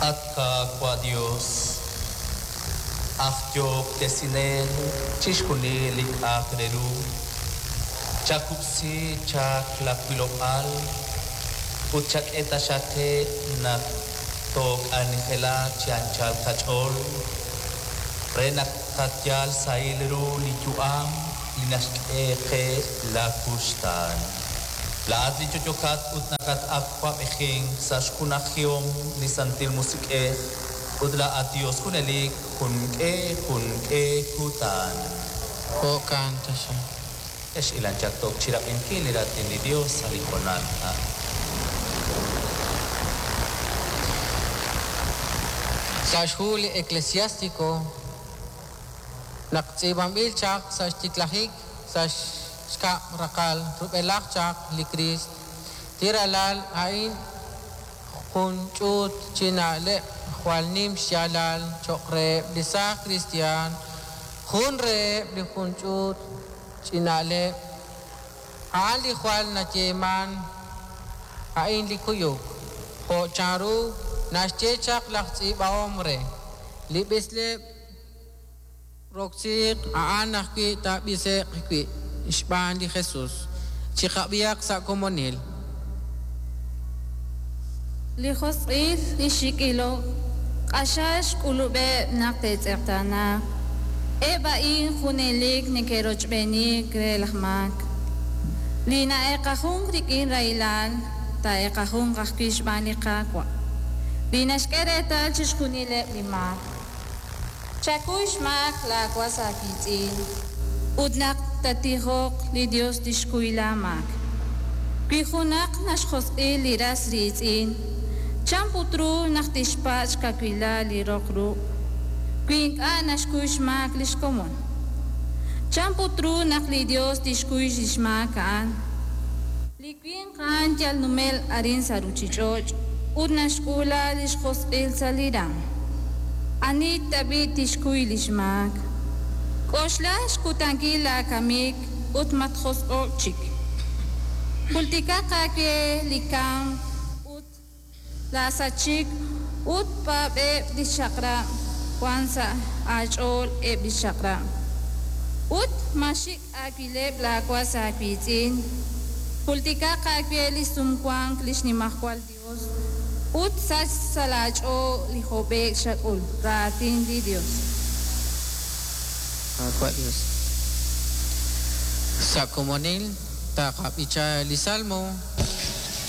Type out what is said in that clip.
At Qaawa' Dios, aj Yo'ob'tesinel chixjunil li k'a'aq re ru, chakub'si chaq la wilob'aal ut chak'e taxaq qe naq took'anjelaq chi anchal qach'ool re naq tqayal sahil ru li yu'am li naxk'e qe la kuxtaan. Laa'at li yo'yokat ut nakat-awab'ejink sa' xjunajihom li Santil Musiq'ej ut laa'at Dios junelik junk'e junk'e kutan. Jo'kan taxaq. Ex ilan chaq took chirab'inkil li raatin li Dios sa' li hoonal a'in. Sa' xhu li Eclesiástico naq tz'iib'anb'il chaq sa' xtiklajik sa' xkab' raqal rub'elaj chaq li Kriist, li ralal a'in jun ch'uut chi na'leb' jwal nim xyaalal cho'q reheb' li saaj kristiyan. Jun reheb' li jun ch'uut chi na'leb' a'an li jwal nayeeman a'in li kuyuk, jo' chanru naxye chaq laj tz'iib'ahom re li b'isleb' roksiiq a'an ajwi' taab'ise'q wi' xb'aan li Jesus. Chiqab'ihaq sa' komonil. Li josq'il, li xik' ilok, q'axal xk'ulub'eb' naq te'tz'eqtaanaaq. Eb' a'in junelik neke'rochb'eeni re laj maak. Li na'eeqajunk rik'in rahilal, taa'eeqajunq ajwi' xb'aan li Qaawa', li naxk'e reetal chixjunileb' li maak. Chakuy xmaak laawas aawiitz'in, ut naq tattijoq, li Yos tixkuy laamaak. Wi junaq naxjosq'i li ras riitz'in, chan put ru naq tixpatz' xkawilal li roq ruq' wi ink'a' naxkuy xmaak li xkomon? Chan put ru naq li Yos tixkuy li xmaak a'an? Li winq a'an yal numel arin sa' ruuchich'och' ut naxk'uula li xjosq'il sa' li raanm. Ani tab'i' tixkuy li xmaak? K'oxla xkutankil laakamik ut matjosq'o'k chik. Jultikaq aawe li kamk ut laasachik ut paab'eb' li xchaq'rab' wank sa' aach'ool eb' li xchaq'rab'. Ut maaxik' aawileb' laawas aawiitz'in. Jultikaq aawe li xsumwank li xNimajwal Yos ut sachk sa' laach'ool li hob'e'k xak'ul. Raatin li Yos. Qaawa' Dios. Sa' komonil taqab'icha li Salmo.